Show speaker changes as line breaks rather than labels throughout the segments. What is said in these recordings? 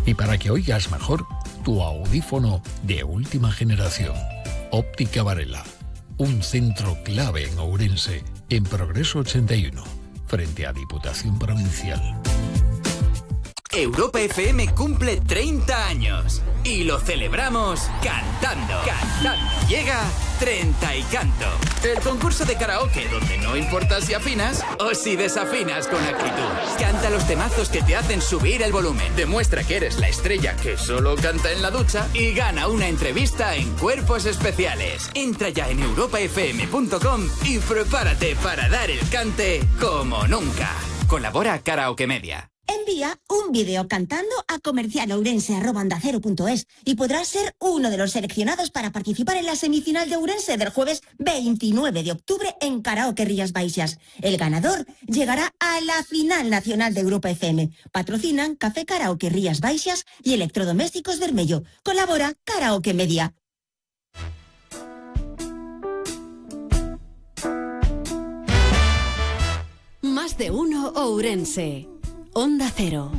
Y para que oigas mejor, tu audífono de última generación. Óptica Varela, un centro clave en Ourense, en Progreso 81, frente a Diputación Provincial.
Europa FM cumple 30 años y lo celebramos cantando. Llega 30 y Canto, el concurso de karaoke donde no importa si afinas o si desafinas con actitud. Canta los temazos que te hacen subir el volumen. Demuestra que eres la estrella que solo canta en la ducha y gana una entrevista en Cuerpos Especiales. Entra ya en europafm.com y prepárate para dar el cante como nunca. Colabora Karaoke Media.
Envía un vídeo cantando a comercialourense@ondacero.es y podrás ser uno de los seleccionados para participar en la semifinal de Ourense del jueves 29 de octubre en Karaoke Rías Baixas. El ganador llegará a la final nacional de Europa FM. Patrocinan Café Karaoke Rías Baixas y Electrodomésticos Vermello. Colabora Karaoke Media.
Más de uno Ourense. Onda Cero.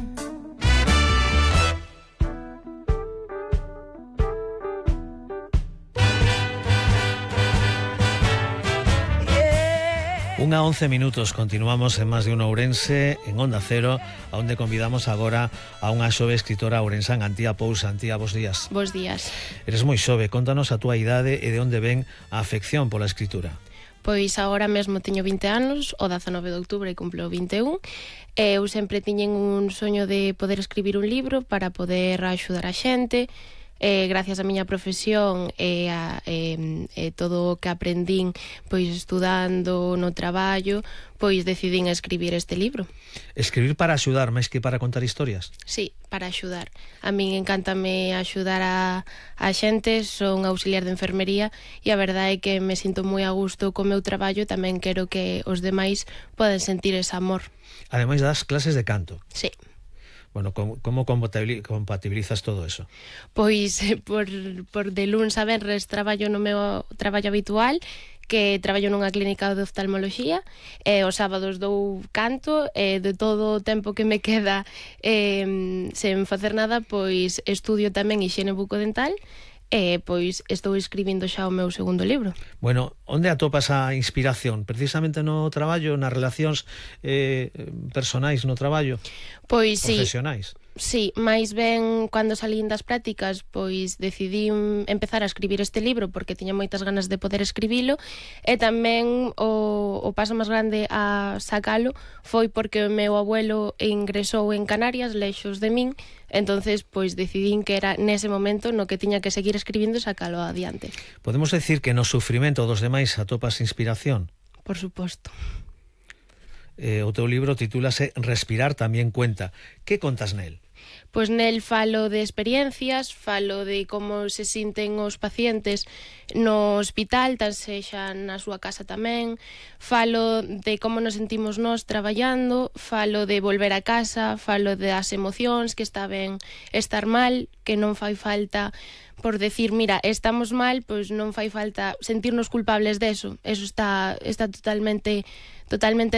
Unha 11 minutos, continuamos en Más de uno Ourense, en Onda Cero, onde convidamos agora a unha xove escritora ourensán, Antía Pousa. Antía, bos días.
Bos días.
Eres moi xove, contanos a túa idade e de onde ven a afección pola escritura.
Pois agora mesmo teño 20 anos, o 19 de outubro e cumplo 21. Eu sempre tiñen un soño de poder escribir un libro para poder axudar a xente. Gracias á miña profesión e todo o que aprendín pois estudando no traballo, pois decidín escribir este libro.
Escribir para axudar, máis que para contar historias?
Sí, para axudar. A min encántame axudar a xente, son auxiliar de enfermería e a verdade é que me sinto moi a gusto co meu traballo e tamén quero que os demais poden sentir ese amor.
Ademais das clases de canto.
Sí.
Bueno, como compatibilizas todo eso?
Pois por de luns a venres traballo no meu traballo habitual, que traballo nunha clínica de oftalmoloxía, e os sábados dou canto, e de todo o tempo que me queda sen facer nada, pois estudio tamén hixiene bucodental, e pois estou escribindo xa o meu segundo libro.
Bueno, onde atopas a inspiración? Precisamente no traballo, nas relacións personais no traballo?
Pois sí.
Profesionais?
Sí, máis ben cando salín das prácticas, pois decidí empezar a escribir este libro porque tiña moitas ganas de poder escribilo, e tamén o paso máis grande a sacalo foi porque o meu abuelo ingresou en Canarias, lexos de min, entonces pois decidín que era nese momento no que tiña que seguir escribindo e sacalo adiante.
Podemos decir que no sufrimento dos demais atopas inspiración?
Por suposto.
O teu libro titúlase Respirar tamén cuenta. Que contas nel?
Pois nel falo de experiencias, falo de como se sinten os pacientes no hospital, tan sexa na súa casa tamén, falo de como nos sentimos nós traballando, falo de volver a casa, falo das emocións, que está ben estar mal, que non fai falta por decir, mira, estamos mal, pois non fai falta sentirnos culpables deso. Eso está totalmente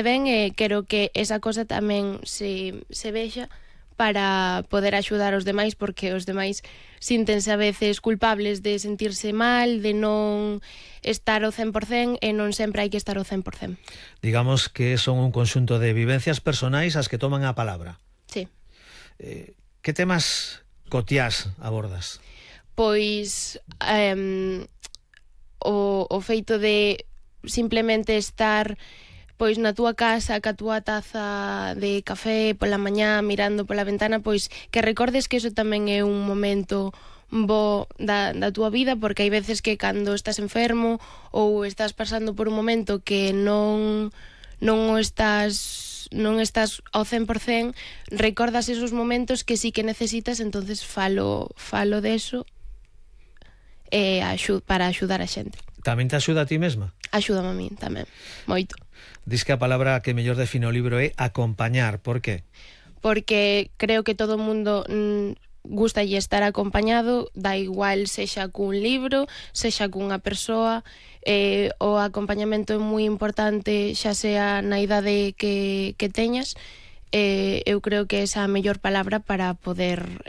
ben, e quero que esa cosa tamén se vexa para poder axudar os demais, porque os demais síntense a veces culpables de sentirse mal, de non estar ao 100%, e non sempre hai que estar ao 100%.
Digamos que son un conxunto de vivencias personais as que toman a palabra.
Sí.
Que temas cotiás abordas?
Pois o feito de simplemente estar pois na túa casa ca túa taza de café pola mañá mirando pola ventana, pois que recordes que eso tamén é un momento bo da túa vida, porque hai veces que cando estás enfermo ou estás pasando por un momento que non estás ao 100%, recordas esos momentos que sí que necesitas, entonces falo deso para axudar a xente.
Tamén te axuda a ti mesma?
Axúdame a min tamén, moito.
Diz que a palabra que mellor define o libro é acompañar. Por qué?
Porque creo que todo o mundo gusta estar acompañado, da igual sexa cun libro, sexa cunha persoa. O acompañamento é moi importante, xa sea na idade que teñas. Eu creo que esa é a mellor palabra para poder